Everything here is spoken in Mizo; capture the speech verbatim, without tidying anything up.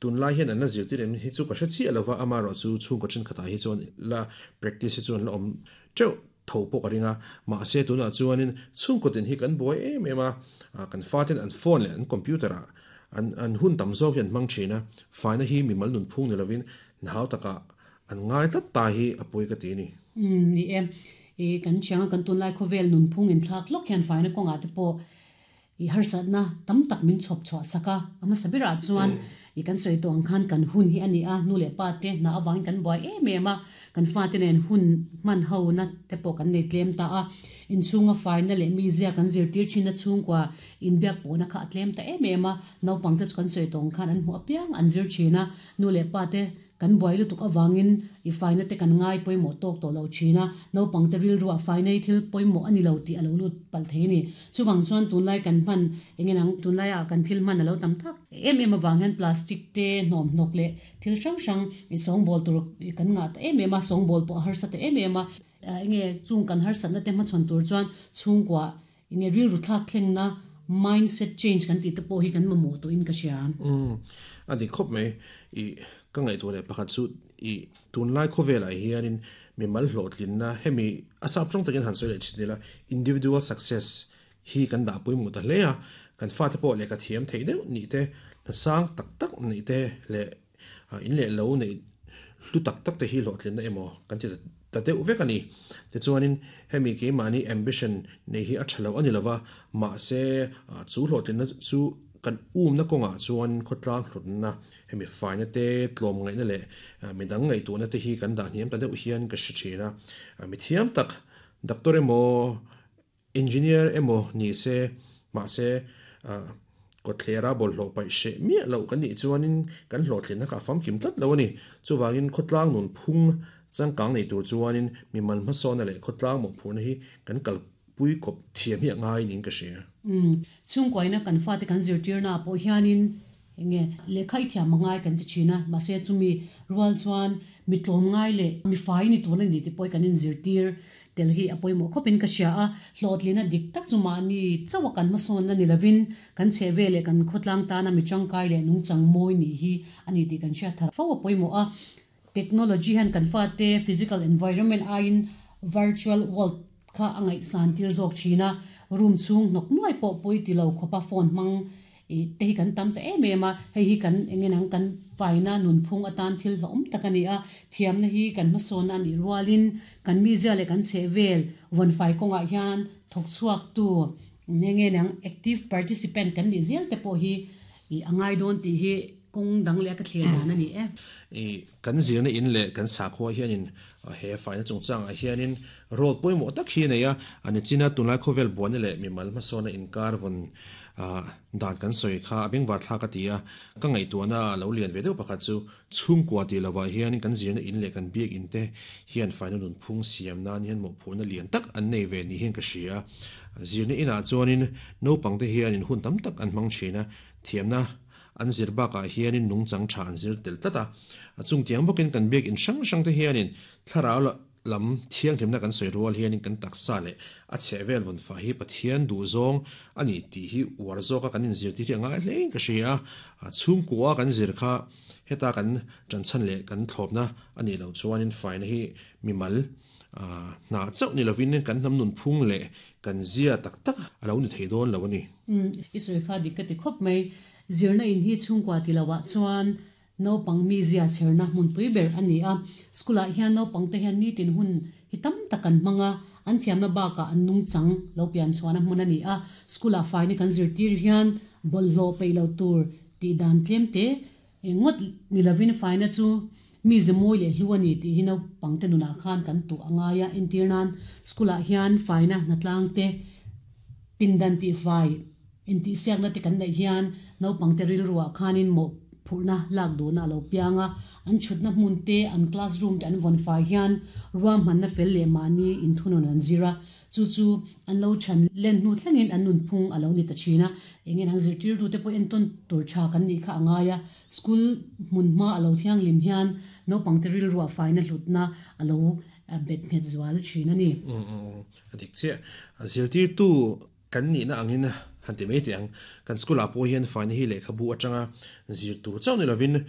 Tunlai hian an la zirtir em hi chu ka hre chiah lova, amaherawhchu chhungkaw thenkhatah hi chuan la practice hi chuan la awm teuh tho pawh ka ring a. Mahse tunah chuanin chhungkaw tin hi kan buai em em a, kan faten an phone leh an computer ah an an hun tam zawk hi an hmang thin a, faina hi mimal nunphung ni lovin nau takah an ngai tlat ta hi a pawi ka ti a ni. Umm ni e, i kan thiang a kan tunlai khawvel nunphung inthlak hlawk hian faina kawngah te pawh I harsatna tam tak min chhawp chhuah sak a, a hmasa berah chuan i kan sawi tawh ang khan kan hun hi a ni a, nu leh pa te hna avangin kan buai em em a, kan fate nen hun hman ho na te pawh kan nei tlem ta a, inchhunga faina leh mizia kan zirtir thinna chhungkua inbiak pawhna kha a tlem ta em em a, naupang te chu kan sawi tawh ang khan an hmuh apiang an zir thin a, nu leh pa te Kan buai lutuk avangin i faina te kan ngai pawimawh tawk tawh lo thin a, naupang te rilruah faina hi thil pawimawh a ni lo tih a lo lut palh thei a ni. Chuvang chuan tunlai kan hman eng nge nang tunlaia kan thil hman a lo tam tak em em avang hian plastic te hnawmhnawk leh thil hrang hrang i sawngbawl tur kan ngah ta em em a, sawngbawl pawh a harsa ta em em a. Eng nge chung kan harsatna te hmachhawn tur chuan chhungkua eng nge rilru thlak thlengna mindset change kan tih te pawh hi kan mamawh tawhin ka hria. Umm a dik khawp mai. I ka ngaihtuah leh pakhat chu i tunlai khawvelah hianin mimal hlawhtlinna hemi a sap tawng takin han sawi leh thin ila individual success hi kan dah pawimawh ta hle a, kan fate pawh lehkha thiam theih deuh nih te, hna sang tak tak neih te leh in leh lo neih hlu tak tak te hi hlawhtlinna emaw kan ti ta deuh vek a ni. Tichuanin hemi keimahni ambition neih hi a tha lo a ni lova, mahse chu hlawhtlinna chu Kan umna kawngah chuan khawtlang hlutna, hemi faina te, tlawmngaihna leh midang ngaihtuahna te hi kan dah hniam ta deuh hian ka hre thin a. Mi thiam tak, doctor emaw, engineer emaw ni se, mahse kawthlera bawlhhlawh paih hreh miah loh kan nih chuanin kan hlawhtlinna kha a famkim tlat lo a ni. Chuvangin khawtlang nunphung changkang nei tur chuanin mimal hmasawnna leh khawtlang mawhphurhna hi kan kal Pui kawp thiam hi a ngai niin ka hria. Umm, chhungkuaina kan fate kan zirtirna ah pawh hianin eng nge lehkha i thiam a ngai kan ti thin a, mahse chumi rual chuan mi tlawm ngai leh mi fai ni tur a ni tih pawh hi kan inzirtir tel hi a pawimawh khawpin ka hria a, hlawhtlina dik tak chu mahni chauha kan hmasawnna ni lovin kan chheh vel leh kan khawtlang tana mi tangkai leh nungchang mawi nih hi a ni tih kan hriat thar fo a pawimawh a, technology hian kan fate physical environment aiin virtual world kha a ngaihsan tir zawk thin a, room chhung hnawk nuai pawh pawi ti lo khawpa phone hmang ih te hi kan tam ta em em a, hei hi kan eng nge nang kan faina nunphung atan thil hlawhawm tak a ni a, thiamna hi kan hmasawnna a nih rualin kan mizia leh kan chhehvel vawnfai kawngah hian thawk chhuaktu eng nge nang active participant kan nih zel te pawh hi ih a ngai dawn tih hi kawng dang leh a ka thlir dan a ni e. Ih kan zirna in leh kan sakhua hianin he faina chungchangah hianin role pawimawh tak hi a nei a, a ni chin a, tunlai khawvel buaina leh mimal hmasawnna inkar vawn dan kan sawi kha a bengvar thlak a ti a, ka ngaihtuahna a lo lian ve deuh pakhat chu chhungkua tih lovah hianin kan zirna in leh kan biak in te hian faina nunphung siam nan hian mawhphurhna lian tak an nei ve ni hian ka hria a, zirna inah chuanin naupangte hianin hun tam tak an hmang thin a, thiamna An zir bakah hianin nungchang tha an zir tel tlat a. A chungtiang bawkin kan biakinn hrang hrang te hianin thlarau lam thianghlimna kan sawi rual hianin kan taksa leh a chhehvel vawnfah hi Pathian duhzawng a ni tih hi uar zawka kan inzirtir hi a ngai hlein ka hria a. Chhungkua kan zir kha heta kan tanchhan leh kan thlawpna a nih loh chuanin faina hi mimal Hna chauh ni lovin kan hnam nunphung leh kan zia tak tak a lo ni thei dawn lo a ni. Umm, i sawi kha dik ka ti khawp mai. Zirna in hi chhungkua ti loah chuan naupang mi zia chherna hmunpui ber a ni a. School ah hian naupang te hian nitin hun hi tam tak an hmang a, an thiamna bakah an nungchang lo pian chhuahna hmun a ni a. School ah faina kan zirtir hian bawlhhlawh peih lo tur tih dan tlem te Engngawt ni lovin faina chu mi ze mawi leh hlu a ni tih hi naupangte nunah khan kan tuh a ngai a. Entir nan, school ah hian faina hnatlang te, pindan tih fai intihsiakna te kan neih hian naupangte rilruah khanin mawhphurhna lak duhna a lo piang a. An chhutna hmun te, an classroom te an vawn fai hian ruahmanna fel leh mahni inthunun an zir a. Chu chu an lo chhan len hnu thlengin an nunphung a lo ni ta thin a, eng nge an zirtirtute pawh entawn tur tha kan nih kha a ngai a, school hmun hma a lo thianghlim hian naupangte rilruah faina hlutna a lo bet nghet zual thin a ni. A dik chiah. Zirtirtu kan nihna angin Han ti mai te ang kan school a pawh hian faina hi lehkhabu atanga zir tur chauh ni lovin